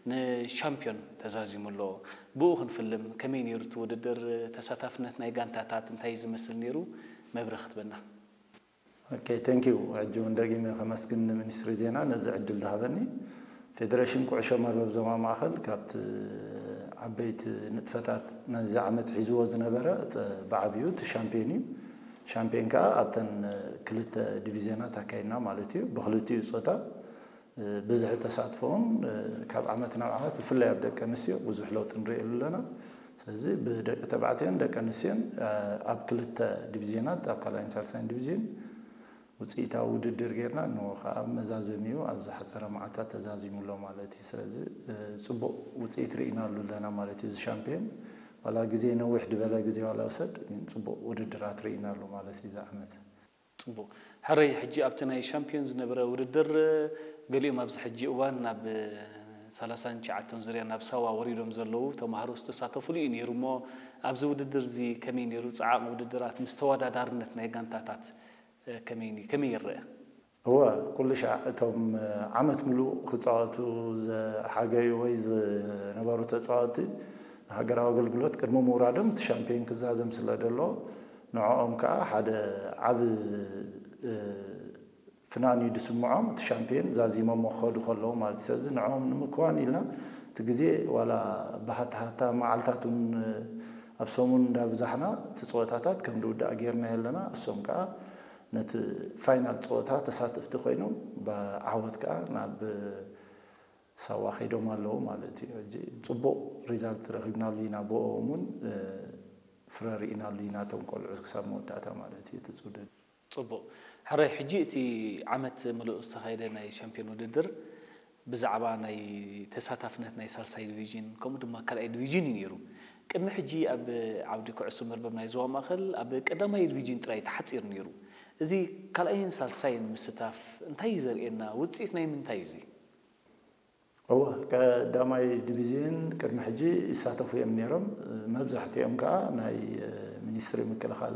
ንሻምፒዮን ተዛዚሙ ኣሎ። ብኡ ክንፍልም ከመይ ነይሩ እቲ ውድድር? ተሳታፍነት ናይ ጋንታታት እንታይ ዝመስል ነይሩ? መብርህ ክትበና። Okay, thank you። ሕጂ እውን ደጊመ ከመስግን ንሚኒስትሪ ዜና ነዚ ዕድል ዝሃበኒ። ፌዴሬሽን ኩዕሾ መርበብ ዞባ ማእኸል ካብቲ ዓበይቲ ንጥፈታት ነዚ ዓመት ሒዝዎ ዝነበረ እቲ ብዓብዩ እቲ ሻምፒዮን እዩ። ሻምፒዮን ከዓ ኣብተን ክልተ ዲቪዝዮናት ኣካይድና ማለት እዩ። ብክልቲኡ ፆታ ብዝሒ ተሳትፎን ካብ ዓመት ናብ ዓመት ብፍላይ ኣብ ደቂ ኣንስትዮ ብዙሕ ለውጢ ንሪእሉ ኣለና። ስለዚ ብደቂ ተባዕትዮን ደቂ ኣንስትዮን ኣብ ክልተ ዲቪዝዮናት ኣብ ካልኣይን ሳልሳይን ዲቪዝዮን ውፅኢታዊ ውድድር ጌርና፣ ንኡ ከዓ መዛዘሚኡ ኣብ ዝሓፀረ መዓልታት ተዛዚሙ ኣሎ ማለት እዩ። ስለዚ ፅቡቕ ውፅኢት ርኢናሉ ኣለና ማለት እዩ። እዚ ሻምፒዮን ዋላ ግዜ ነዊሕ ዝበለ ግዜ ዋላ ውሰድ፣ ግን ፅቡቕ ውድድራት ርኢናሉ ማለት እዩ እዚ ዓመት። ፅቡቕ። ሕረይ፣ ሕጂ ኣብቲ ናይ ሻምፒዮን ዝነበረ ውድድር ገሊኦም ኣብዚ ሕጂ እዋን ናብ ሰላሳን ትሽዓተን ዙርያ ናብ ሳዋ ወሪዶም ዘለዉ ተምሃሮ ዝተሳተፉሉ እዩ ነይሩ እሞ ኣብዚ ውድድር እዚ ከመይ ነይሩ? ፃዓቕ ውድድራት ምስ ተወዳዳርነት ናይ ጋንታታት ከመይ ይረአ? እወ፣ ኩሉ ሻዕ እቶም ዓመት ሙሉእ ክፃወቱ ዝሓገዩ ወይ ዝነበሩ ተፃወቲ ንሃገራዊ ኣገልግሎት ቅድሚ ምውራዶም እቲ ሻምፒዮን ክዛዘም ስለ ደሎ ንዕኦም ከዓ ሓደ ዓብ ፍናን እዩ ዝስምዖም። እቲ ሻምፒዮን ዛዚሞሞ ክኸዱ ከለዉ ማለት እዩ። ስለዚ ንዕኦም ንምክዋን ኢልና እቲ ግዜ ዋላ ብሃታሃታ መዓልታት እውን ኣብ ሰሙን እንዳብዛሕና እቲ ፀወታታት ከም ዝውዳእ ጌርና ኣለና። እሶም ከዓ ነቲ ፋይናል ፀወታ ተሳተፍቲ ኮይኖም ብዓወት ከዓ ናብ ሳዋ ከይዶም ኣለዉ ማለት እዩ። ሕጂ ፅቡቕ ሪዛልት ረኺብናሉ ኢና። ብኦም እውን ፍረ ርኢናሉ ኢና እቶም ቆልዑ ክሳብ መወዳእታ ማለት እዩ እቲ ውድድር። ፅቡቕ። ሕራይ፣ ሕጂ እቲ ዓመት ምሉእ ዝተኻየደ ናይ ሻምፒዮን ውድድር ብዛዕባ ናይ ተሳታፍነት ናይ ሳልሳይ ዲቪዥን ከምኡ ድማ ካልኣይ ዲቪዥን እዩ ነይሩ። ቅድሚ ሕጂ ኣብ ዓውዲ ኩዕሶ መርበብ ናይ ዞባ ማእኸል ኣብ ቀዳማይ ዲቪዥን ጥራይ ተሓፂሩ ነይሩ። እዚ ካልኣይን ሳልሳይን ምስታፍ እንታይ እዩ ዘርእየና? ውፅኢት ናይ ምንታይ እዩ እዚ? እወ፣ ቀዳማይ ዲቪዝዮን ቅድሚ ሕጂ ይሳተፉ እዮም ነይሮም። መብዛሕትኦም ከዓ ናይ ሚኒስትሪ ምክልኻል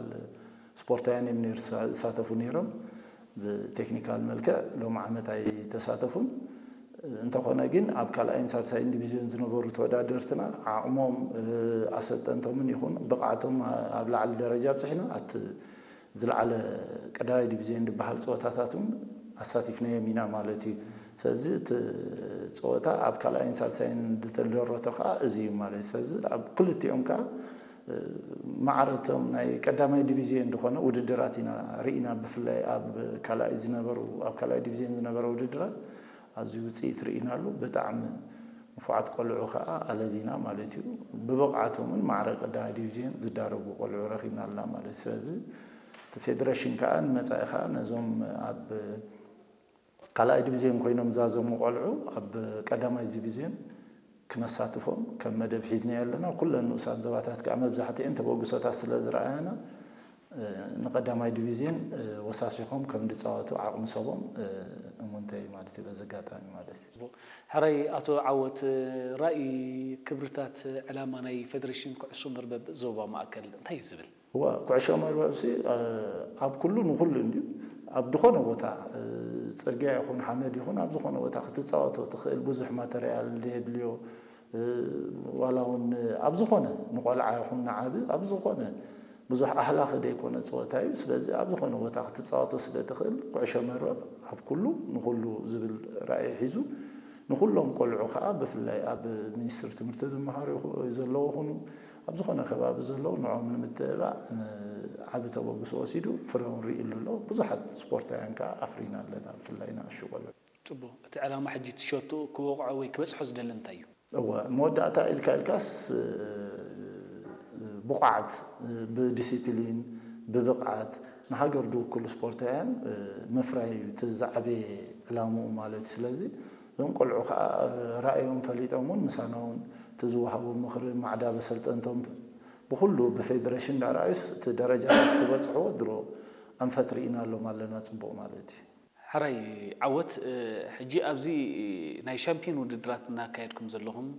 ስፖርታውያን እዮም ነይሩ ዝሳተፉ ነይሮም። ብቴክኒካል መልክዕ ሎም ዓመት ኣይተሳተፉን። እንተኾነ ግን ኣብ ካልኣይን ሳልሳይን ዲቪዝዮን ዝነበሩ ተወዳደርትና ዓቕሞም ኣሰልጠንቶምን ይኹን ብቕዓቶም ኣብ ላዕሊ ደረጃ ኣብፅሕና ኣት ዝለዓለ ቀዳማይ ዲቪዝዮን ዝበሃል ፀወታታት እውን ኣሳቲፍናዮም ኢና ማለት እዩ። ስለዚ እቲ ፀወታ ኣብ ካልኣይን ሳልሳይን ዝተደረቶ ከዓ እዚ እዩ ማለት እዩ። ስለዚ ኣብ ክልቲኦም ከዓ ማዕረቶም ናይ ቀዳማይ ዲቪዝዮን ዝኾነ ውድድራት ኢና ርኢና። ብፍላይ ኣብ ካልኣይ ዝነበሩ ኣብ ካልኣይ ዲቪዝዮን ዝነበረ ውድድራት ኣዝዩ ውፅኢት ርኢናሉ። ብጣዕሚ ንፉዓት ቆልዑ ከዓ ኣለሊና ማለት እዩ። ብብቕዓቶምን ማዕረ ቀዳማይ ዲቪዝዮን ዝዳረጉ ቆልዑ ረኺብና ኣለና ማለት እዩ። ስለዚ እቲ ፌደሬሽን ከዓ ንመፃኢ ከዓ ነዞም ኣብ ካልኣይ ዲቪዝዮን ኮይኖም ዛዘሙ ቆልዑ ኣብ ቀዳማይ ዲቪዝዮን ክነሳትፎም ከም መደብ ሒዝና ኣለና። ኩለን ንኡሳን ዞባታት ከዓ መብዛሕትኤን ተበግሶታት ስለ ዝረኣያና ንቀዳማይ ዲቪዝዮን ወሳሲኾም ከም ዝፃወቱ ዓቕሚ ሰቦም እሙንተይ ማለት እዩ። በዚ ኣጋጣሚ ማለት እዩ። ሕራይ ኣቶ ዓወት፣ ራእይ፣ ክብርታት፣ ዕላማ ናይ ፌደሬሽን ኩዕሶ መርበብ ዞባ ማእከል እንታይ እዩ ዝብል? እዋ፣ ኩዕሾ መርበብሲ ኣብ ኩሉ ንኩሉ እንድዩ። ኣብ ዝኾነ ቦታ ፅርግያ ይኹን ሓመድ ይኹን ኣብ ዝኾነ ቦታ ክትፃወቶ ትኽእል። ብዙሕ ማተርያል የድልዮ። ዋላ እውን ኣብ ዝኾነ ንቆልዓ ይኹን ንዓቢ ኣብ ዝኾነ ብዙሕ ኣህላኺ ዘይኮነ ፀወታ እዩ። ስለዚ ኣብ ዝኾነ ቦታ ክትፃወቶ ስለ ትኽእል ኩዕሾ መርበብ ኣብ ኩሉ ንኩሉ ዝብል ራእይ ሒዙ ንኩሎም ቆልዑ ከዓ ብፍላይ ኣብ ሚኒስትሪ ትምህርቲ ዝመሃሩ ዘለዉ ይኹኑ ኣብ ዝኾነ ከባቢ ዘለዉ ንዕኦም ንምትብባዕ ዓቢ ተበግሶ ወሲዱ ፍረ እውን ርእይሉ ኣሎ። ብዙሓት ስፖርታውያን ከዓ ኣፍሪና ኣለና ብፍላይ ንኣሽቱ ቆልዑ። ፅቡቕ። እቲ ዕላማ ሕጂ እቲ ሸቶ ክወቕዖ ወይ ክበፅሖ ዝደሊ እንታይ እዩ? እወ፣ መወዳእታ ኢልካ ኢልካስ ብቑዓት ብዲሲፕሊን ብብቕዓት ንሃገር ዝውክሉ ስፖርታውያን ምፍራይ እዩ እቲ ዝዓበየ ዕላምኡ ማለት እዩ። ስለዚ እዞም ቆልዑ ከዓ ራእዮም ፈሊጦም እውን ምሳና እውን እቲ ዝወሃቦም ምኽሪ ማዕዳ በሰልጠንቶም ብኩሉ ብፌደሬሽን እንዳረኣዩስ እቲ ደረጃታት ክበፅሕዎ ድሮ ኣንፈት ርኢናሎም ኣለና። ፅቡቕ ማለት እዩ። ሕራይ ዓወት፣ ሕጂ ኣብዚ ናይ ሻምፒዮን ውድድራት እናካየድኩም ዘለኹም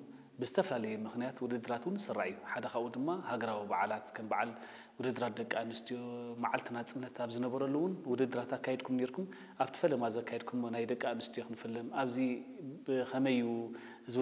ብዝተፈላለየ ምኽንያት ውድድራት እውን ዝስራዕ እዩ። ሓደ ካብኡ ድማ ሃገራዊ በዓላት ከም በዓል ውድድራት ደቂ ኣንስትዮ፣ መዓልቲ ናፅነት ኣብ ዝነበረሉ እውን ውድድራት ኣካይድኩም ነይርኩም። ኣብቲ ፈለማ ዘካየድኩሞ ናይ ደቂ ኣንስትዮ ክንፍልም ኣብዚ ብኸመይ እዩ እዚ